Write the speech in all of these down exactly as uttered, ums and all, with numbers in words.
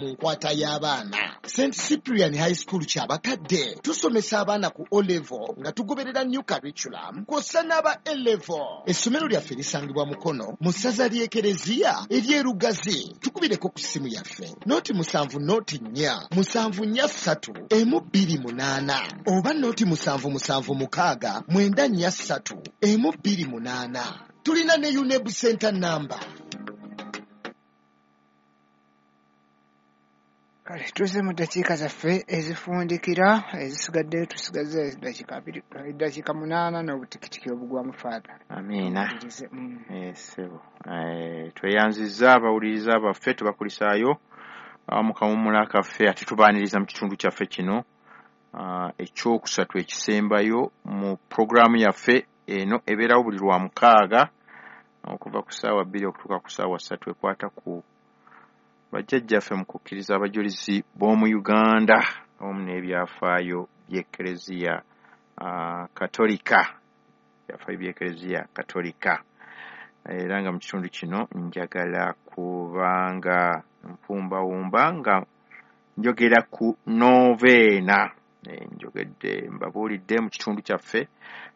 Mu nkwata y'abaana, Saint Cyprian High School Kyabakadde tusomesa abaana ku O level nga tugoberera new curriculum kw'ossa n'aba A level. Essomero lyaffe lisangibwa Mukono mu ssaza ly'Ekereziya ery'Erugazi. Tukubireko ku ssimu yaffe noti musanvu noti nnya musanvu nnya ssatu emu bbiri munaana oba noti musanvu musanvu mukaaga mwenda nnya ssatu emu bbiri munaana. Tulina ne UNEB Center number. Kale tuzze mu ddakiika zaffe ezifundikira ezisigaddeyo, tusigaze eddakiika abiri, eddakiika munaana n'obutikitiki obugwamu, Faather. Amiina. Irize, mm. Eh, ssebo. Eh, tweyanzizza abawuliriza baffe, tubakulisaayo ah, mu kawummula kaffe, ate tubaaniriza mu kitundu kyaffe kino ah, ekyokusatu ekisembayo mu puroguraamu yaffe eno ebeerawo buli lwa mukaaga okuva ku ssaawa bbiri okutuuka ku ssaawa ssatu, ekwata ku bajjajjaffe mu kukkiriza abajulizi b'omu Uganda awamu n'ebyafaayo by'Ekereziya ah, Katolika, ebyafaayo by'Ekereziya Katolika. Era nga mu kitundu kino njagala kubanga mpumbawumba nga njogera ku noveena. Eh, njogedde mbabuulidde mu kitundu kyaffe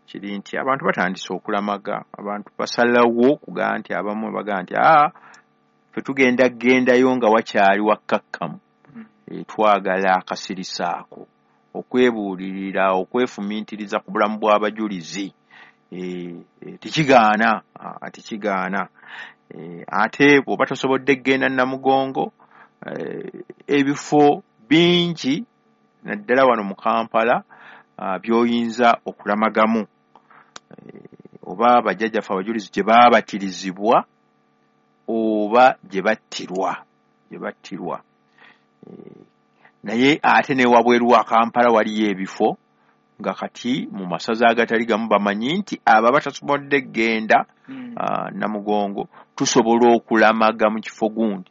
kiri nti abantu batandise okulamaga, abantu basalawo okugamba nti abamu bagamba nti aa ffe tugenda gendayo nga wakyali wakkakkamu. Eh, twagala akasirisa ako, okwebuulirira, okwefumiitiriza ku bulamu bw'abajulizi. Eh, eh, tekigaana, ah, tekigaana. Eh, ate bw'oba tosobodde kugenda Namugongo, eh, ebifo bingi naddala wano mu Kampala, ah, by'oyinza okulamagamu. Eh, oba bajjajjaffe abajulizi gye baabatirizibwa oba gye battirwa, gye battirwa. Eh, naye ate ne wabweru wa Kampala waliyo ebifo nga kati mu masaza agatali gamu bamanyi nti abo abatasobodde kugenda Mm. ah, Namugongo tusobola okulamaga mu kifo gundi.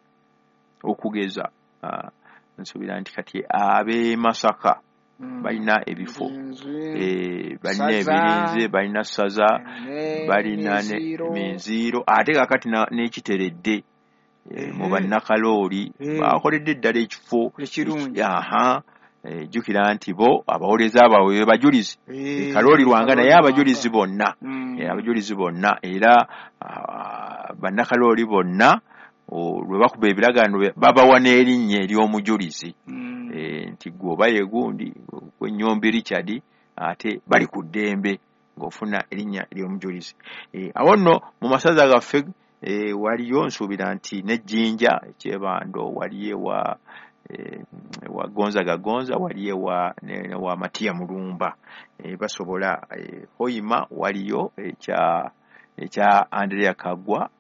Okugeza, ah, nsuubira nti kati ab'e Masaka Mm. balina ebifo, Birinzi, eh, balina Ssaza, ebirinze, balina ssaza, ne balina ne Minziiro. Minziiro, ate kaakati na- n'ekiteredde eh, mu Ehe. bannakalooli Eh. bakoledde ddala ekifo ekirungi. Aha, eh, jjukira nti bo abawolereza baabwe be bajulizi. Eh, Kalooli Lwanga, naye Kalooli abajulizi Lwanga. bonna, Mm. eh, abajulizi bonna era ah, bannakalooli bonna o, lwe bakuba ebiragaano babawa n'erinnya ery'omujulizi. Mm. Eh, nti gwe oba ye gundi gwe Richard, ate bali ku ddembe ng'ofuna erinnya ery'omujulizi. Eh, awo nno mu masaza gaffe eh, waliyo nsuubira nti n'Ejjinja ekyebando, waliyo ewa eh, ewa Gonzaga Gonza, waliyo ewa ne, ne wa Matiya Mulumba, eh, basobola eh, Hoima waliyo ekya ekya Andrea Kagwa,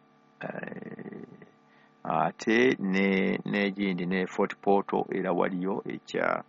eh, ate ne n'egindi ne Fort Portal era waliyo ekya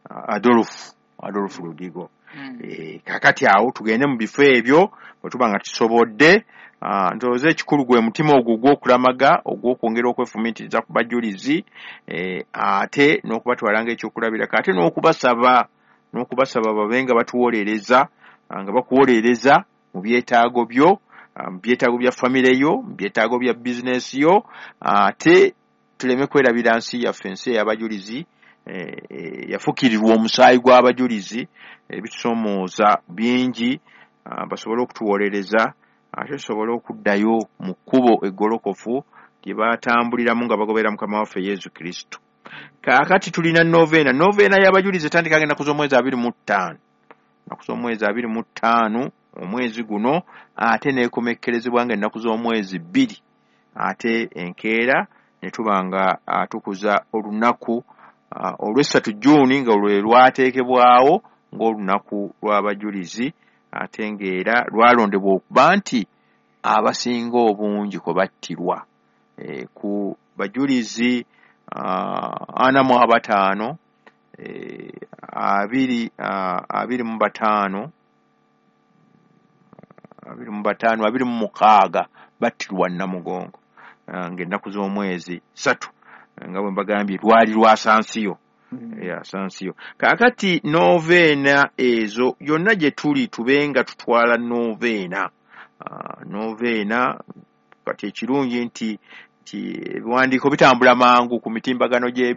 ah, Adolf Adolf Ludigo. Mm. Eh, kaakati awo tugende mu bifo ebyo bwe tuba nga tusobodde. Ah, ndowooza ekikulu gwe mutima ogwo ogw'okulamaga, ogw'okwongera okwefumiitiriza ku bajulizi, eh, ate n'okubatwala ng'ekyokulabirako, ate n'okubasaba n'okubasaba babe nga batuwolereza, ah, nga bakuwolereza mu byetaago byo, ah, mu byetaago bya famire yo, mu byetaago bya bizinesi yo, ate tuleme kwerabira nsi yaffe, ensi ey'abajulizi, eh, eh, yafukirirwa omusaayi gw'abajulizi, ebitusoomooza bingi, ah, basobole okutuwolereza ate tusobole okuddayo mu kkubo eggolokofu lye baatambuliramu nga bagoberera Mukama waffe Yesu Kristo. Kaakati tulina noveena. Noveena y'abajulizi etandika ennaku z'omwezi abiri mu ttaano, ennaku z'omwezi abiri mu ttaano omwezi guno, ate n'ekomekkerezebwa nga ennaku z'omwezi bbiri, ate enkeera ne tuba nga ah, tukuza olunaku ah, olw'essatu Jjuuni nga lwe lwateekebwawo ng'olunaku lw'abajulizi, ate ng'era lwalondebwa okuba nti abasinga obungi kwe battirwa. Eh, ku bajulizi ah, ana mu abataano, eh, abiri ah, abiri mu bataano, abiri mu bataano, abiri mu mukaaga battirwa Namugongo, ah, ng'ennaku z'omwezi ssatu, nga bwe mbagambye lwali lwa Sansiyo. Mm. Ya Sansiyo. Kaakati noveena ezo yonna gye tuli tube nga tutwala noveena. Ah, noveena kati ekirungi nti Nti ebiwandiiko bitambula mangu ku mitimbagano gyebiri.